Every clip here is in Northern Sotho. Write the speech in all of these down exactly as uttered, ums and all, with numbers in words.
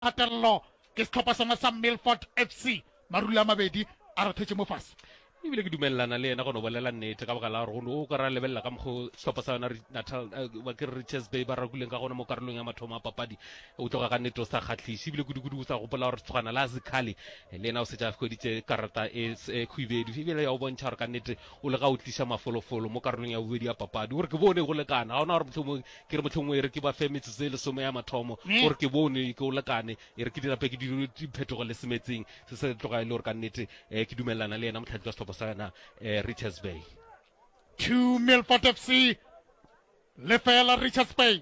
Kgatelelo ke sehlopha sona sa Milford F C. Marula a mabedi a rothetše mo fase. Ebile ke dumelelana le yena go no bolela nnete, ka baka la gore o ka ra lebelela ka mokgo sehlopha sa yona Natal, ba ke re Richards Bay, ba rakuleng ka gona mo karolong ya mathomo a papadi, o tloga ka nnete o sa kgahliše. Ebile kudu-kudu o sa gopola gore setsogana la Zikhali le yena o setse a hweditše karata e e khwibedu, ebile ya o bontšha gore ka nnete o le ga o tliša mafolofolo mo karolong ya bobedi ya papadi. Gore ke bone go lekana, ga ona gore mohlomongwe ke re mohlomongwe e re ke ba fe metsotso e lesome ya mathomo, gore ke bone ke o lekane, e re ke dirape ke dire diphetogo le semetseng se se tloga e le gore ka nnete um ke dumelelana le yena motlhatli wa sehlopha sa yona um Richards Bay. Two Milford F C, lefela Richards Bay.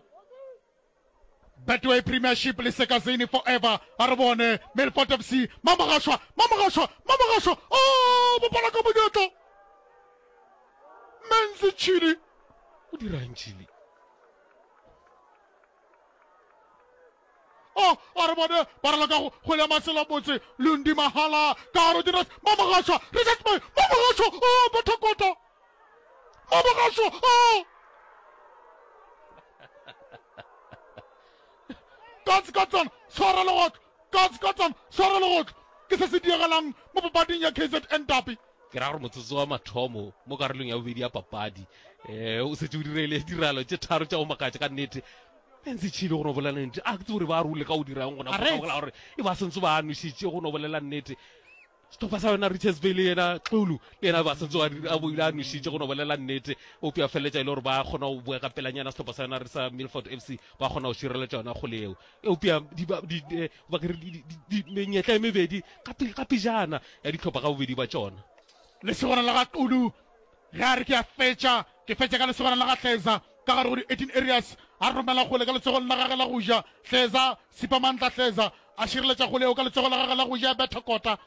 Betway Premiership le Sekazini forever. A re bone Milford F C. Mamogashwa, Mamogashwa, Mamogashwa. Oh, bopala ka monyetla. Menzi Chili. O dirang Chili? Oh, a re bone ba raloka go kgwele ya masela botse. Lundi Mahala ka gare dira Mamogashwa, Richards Bay, Mamogashwa. Oh, Bothakota. Mamogashwa. Oh. Katse katsana tshwara legotlo, katse katsana tshwara legotlo, ke se se diregalang mo papading ya K Z N Derby. Ke ra gore motsotso wa mathomo mo karolong ya bobedi ya papadi um o setse o dirile diralo tše tharo tša go makatša ka nnete. Ntse tšhile go no bolela nnete, a ke tse gore ba rule ka o dirang gona gore e ba sentse ba nwešitše. Go no bolela nnete, sehlopha sa yona Richards Bay le yena Xulu le yena ba sentse a boile a nwešitše. Go no bolela nnete, o pea feleletša e le gore ba kgona go boa ka pelanyana. Sehlopha sa yona re sa Milford F C ba kgona go šireletša yona kgole eo, eupša menyetla e mebedi ka pejana ya dihlopha ka bobedi ba tšona. Lesogana la ga Xulu ge a re ke a fetša, ke fetša ka lesogana la ga Hleza ka gare go di-eighteen areas, a romela kgole ka letsogong la gage la go ja. Hleza Sipamantla Hleza a šireletša kgole eo ka letsogo la gage la go ja, betha kota.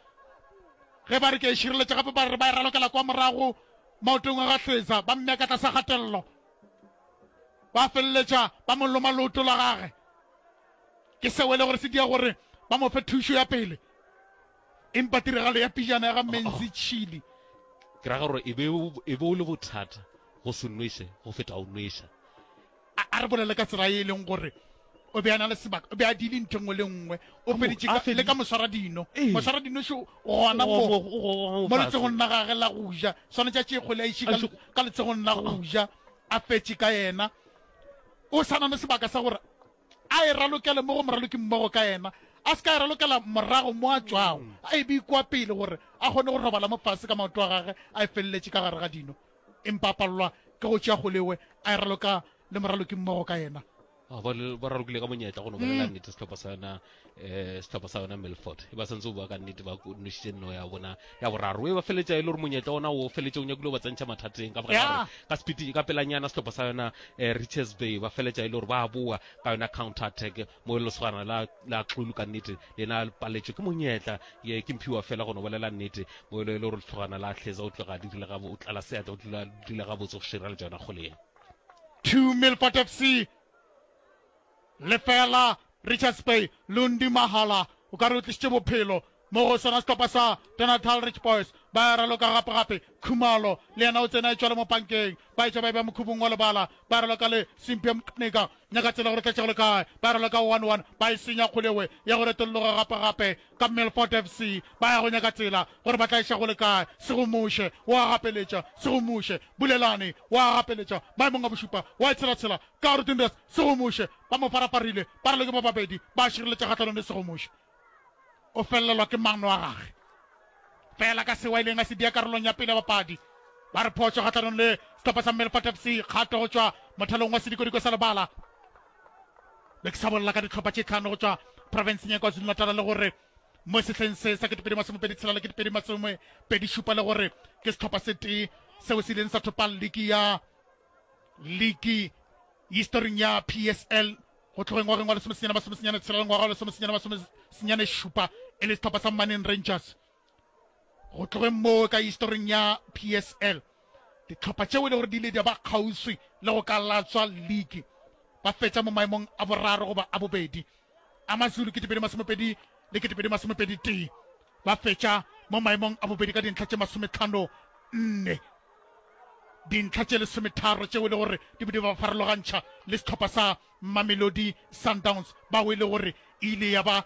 Ge ba re ke e šireletša gape, ba re ba e ralokela kwa morago maotong a ga Hleza, ba mmea ka tlasa kgatelelo, ba feleletša ba mo loma leoto la gage. Ke seo e le gore se dia gore ba mo fe thušo ya pele, empa tiragalo ya pejana ya ga Menzi Chili. Ke ra gore e be o le bothata go se nweše go feta o nweša. A re bolele ka tsela e leng gore o be a na le sebaka, o be a dile ntho nngwe le nngwe, o feditše le ka moswara dino. Moswara dino šo gona mo mo letsogong la gage la go ja, swanetše a tšee kgwele a iše ka letsogong la go ja, a fetše ka yena. O sa na le sebaka sa gore a e ralokele mo go moraloki mmogo ka yena, a se ka e ralokela morago mo a tšwago, a e be kwa pele gore a kgone go robala mo fase ka maoto a gage, a e feleletše ka gare ga dino, empa a palelwa ke go tšea kgolewe a e raloka le moraloki mmogo ka yena. Ba ralokile ka monyetla, go no bolela nnete, sehlopha sa yona um sehlopha sa yona Milford e ba santse o bua ka nnete, ba nwešitše nno ya bona ya boraro e ba feletša e le gore monyetla ona o feletše o nyakile o ba tsentšha mathateng ka baka la gore ka sepiti ka pelanyana sehlopha sa yona um Richards Bay ba feletša e le gore ba boa ka yona counter attack mo e lesogana la la Xulu ka nnete lena paletšwe ke monyetla ye ke mphiwa fela. Go no bolela nnete, mo e le gore lesogana la Hleza o tloga dirile ga o tlala seatla, o dule gabotse go šireletša yona kgole ye. Two Milford F C, lefela Richards Bay. Lundi Mahala o ka re o tlišitše bophelo mo go sona sehlopha sa Natal Rich Boys. Ba raloka gape-gape. Khumalo le yena o tsena e tšwale mo pankeng, ba etša ba e ba mokhubung wa lebala, ba raloka le Simpia Mqnika, nyaka tsela gore tletšego le kae. Ba raloka one one, ba e senya kgolewe ya go retolloga gape-gape ka Milford F C. Ba ya go nyaka tsela gore ba tla iša go le kae. Segomoše wa gapeletša, Segomoše Bulelane wa gapeletša maemong a bošupa, wa e tshelatshela ka Rutindres. Segomoše ba mo farafarile, ba raloke ba babedi, ba šireletša kgahlanong le Segomoše. O felelwa ke maano a gage fela ka seo a ileng a se dia karolong ya pele ya bapadi. Ba re phošo kgahlanong le sehlopha sa Milford F C, kgato go tšwa mothalong wa sedikodiko sa lebala. Be ke sa bolela ka dihlopha tše tlhano go tšwa profenseng ya KwaZulu-Natal, le gore mo sehleng se sa ketepedi masomepedi tshela le ketepedi masomepedi šupa, le gore ke sehlopha se tee seo se ileng sa thopa liki ya liki historing ya P S L go tlogeng ngwageng wa lesomesenyane masomesenyane tshela le ngwaga wa lesomesenyane masomesenyane šupa, e le sehlopha sa Manning Rangers. Go tlogeng moo ka historing ya P S L, dihlopha tšeo e le gore di ile di ba kgauswi le go ka latswa league, ba fetša mo maemong a boraro goba a bobedi. AmaZulu ketepedi masomepedi le ketepedi masomepedi tee ba fetša mo maemong a bobedi ka dintlha tše masometlhano nne, dintlha tše lesometharo tšeo e le gore di be di ba farologantšha le sehlopha sa Mamelodi Sundowns, bao e le gore ile ya ba